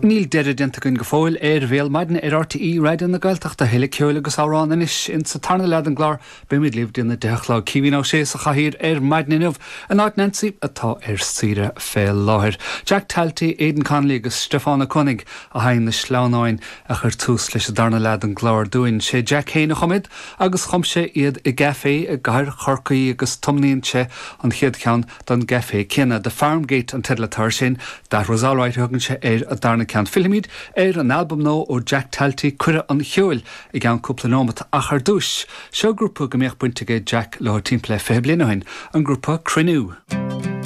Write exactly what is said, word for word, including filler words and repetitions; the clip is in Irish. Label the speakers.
Speaker 1: Níl deireadh déanta againn go fóill ar Bhéal Maidine ar RTÉ Raidió na Gaeltachta tuilleadh ceoil agus amhrán anois in sa tarna leath den gclár beimid libh go dtí a deich a chlog Caoimhín Ó Sé sa chathaoir ar maidin inniu in áit Nancy atá ar saoire fé láthair. Jack Talty, Aidan Connolly agus Stiofán Ó Conaigh a sheinn na sleamhnáin a chuir tús leis an darna leath den gclár dúinn sé Jack féin a chum iad agus chum sé iad i gcaife i gcathair Chorcaí agus tiomnaíonn sé an chéad cheann don gcaife céanna The Farmgate an teideal atá sin That was alright thugann sé ar an darna ceann Fillfimid ar an album nua ó Jack Talty Cuireadh an Cheoil i gceann cúpla nóiméad ach ar dtús, seo grúpa go mbíodh baint aige Jack le timpeall le fiche bliain ó shin an grúpa Cruinniú.